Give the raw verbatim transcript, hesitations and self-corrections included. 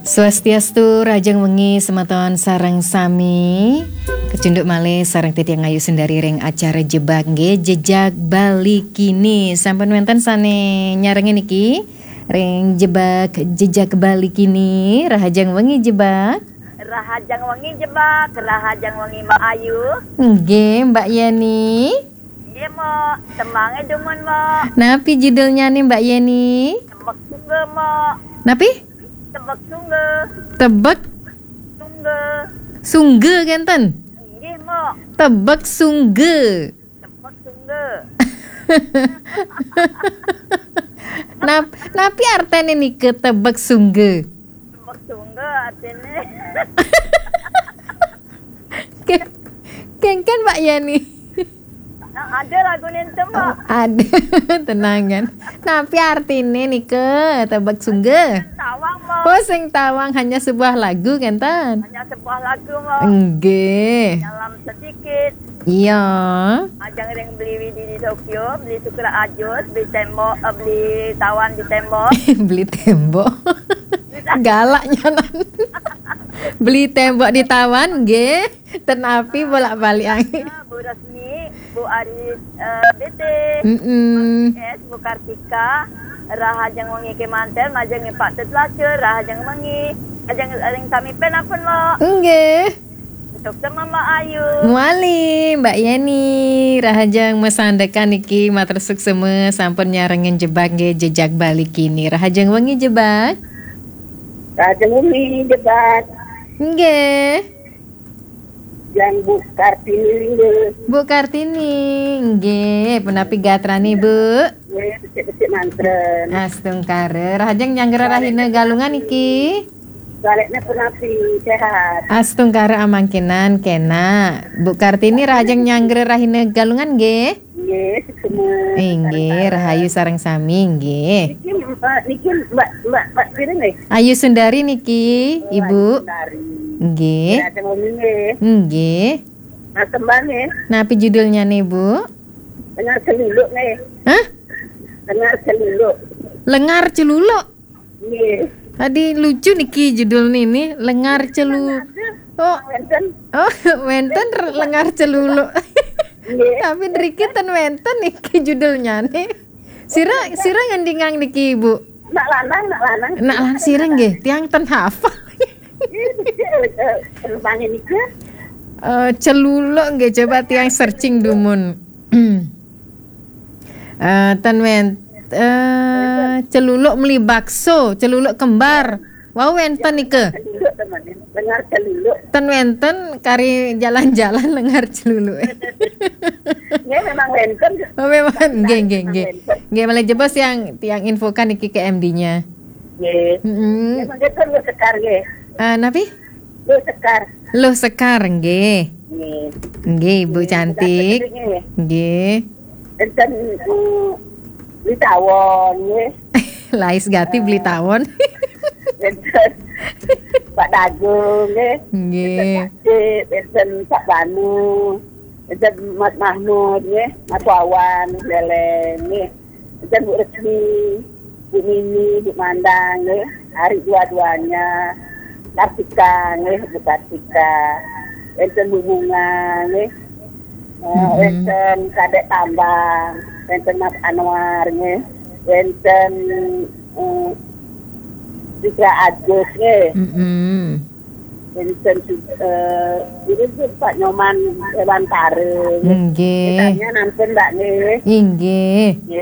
Swastiastu, rahajeng wengi semeton sareng sami. Kecunduk malih sareng titiang Ayu Sundari ring acara Jebak nggih, Jejak Bali Kini. Sampun wenten sane nyarengin niki ring Jebak, Jejak Bali Kini. Rahajeng wengi Jebak. Rahajeng wengi Jebak, rahajeng wengi Mbak Ayu. Nggih, Mbak Yeni. Nggih, Mbok. Tembange dumun, Mbok. Napi judulnyane, Mbak Yeni? Tebek Sungge, Mbok. Napi? Tebek Sungge. Tebek Sungge. Sungge kenten? Nggih, Mbok. Tebek Sungge. Tebek Sungge. Nap-, napi artene nika tebek sungge? Tebek Sungge artine. Ke-, kengken, Mbak Yani. Nah, ada lagu nenten, Mbak. Oh, ada. Tenangan. Napi artine nika tebek sungge? Tawang, Mbak. Oh, sing tawang hanya sebuah lagu, kenten? Hanya sebuah lagu, Mbak. Nggih. Dalam sedikit. Iya. Ajeng ring beli Widi di Tokyo, beli Sukra Ajus, beli tembok, eh, beli tawan di tembok. Beli tembok. Galaknya nan. Beli tembok di tawan, nggih. Ten api bolak-balik angin. Bu Resmi, Bu Ari, eh, B T, Mm-mm. S, Bu Kartika, rahajeng wengi kemanten, majeng Pak Tut Lacur, rahajeng wengi, ajeng ring sami pun, Mbok. Nggih. Suksma, Mbak Ayu. Muali, Mbak Yeni, rahajeng masandekan niki, matur suksma sampun nyarengin Jebak nggih, Jejak Bali Kini. Rahajeng wengi Jebak. Rahajeng wengi Jebak. Nggih. Yang Bu Kartini nggih. Bu Kartini, nggih, punapi gatrane, Bu? Nggih, becik-becik mantren. Astungkara, rahajeng nyanggra rahina Galungan niki. Balekne punapi, sehat? Astungkara amangkinan, kena. Bu Kartini rahajeng nyanggra rahina Galungan nggih? Nggih, suksma. Inggih, rahayu sareng sami nggih. Niki, Mbak, niki Mbak, Mbak, Mbak Sri nggih? Ayu Sundari niki, Oh, Ibu. Ayu Sundari. Nggih. Nggih, ada ngomong nggih. Nggih. Nah, tembang nggih. Napi judulnya nih, Bu? Lengar Celuluk nggih. Hah? Lengar Celuluk. Lengar Celuluk? Nggih. Tadi lucu niki judul nini, Lengar Celu-, Ada. Oh. Wenten. Oh, wenten r-, Lengar Celuluk. Nggih. Tapi nriki ten wenten niki judulnya nih. Sira, sira ngendingang niki, Bu? Nak lanang, nak lanang. Nak lan-, sira nggih, tiang ten hafal. Nggih, becik, eh, eh, tembangnya nika. Eh, Celuluk nggih, coba tiang searching dumun. Eh, ten wen-, eh, Celuluk meli bakso, Celuluk kembar. Wau wenten nika. Celuluk, teman. Lengar Celuluk. Ten wenten kari jalan-jalan Lengar Celuluk. Nggih, memang wenten. Oh, memang. Nggih, nggih, memang nggih. Wenten. Nggih, malih jebos yang, yang infokan niki ke M D-nya. Nggih. Mm-mm. Nggih, mangke ten Luh Sekar nggih. Eh, napi? Luh Sekar. Luh Sekar, nggih. Nggih. Nggih, Ibu Nggih, cantik. Nggih. Nggih. Enten, mm, Beli Tawon, nggih. Lais gati Beli Tawon. Enten Pak Dago, nggih. Nggih. Enten Pak Cik, enten Pak Banu, enten Mas Mahmud, nggih. Mas Wawan, Leleng, nggih. Enten Bu Resmi, Bu Nini, Bu Mandang, nggih. Hari dua-duanya. Kartika, nggih, Bu Kartika. Enten Bu Bunga, nggih. Eh, Mm-mm. Enten Kadek Tambang, enten Mas Anwar, nggih. Enten, eh, Fitra Agus, nggih. Mm-mm. Enten, eh, ini tuh Pak Nyoman Dewantara, nggih. Nggih. Kitanya nonton, Mbak, nggih. Inggih. Nggih.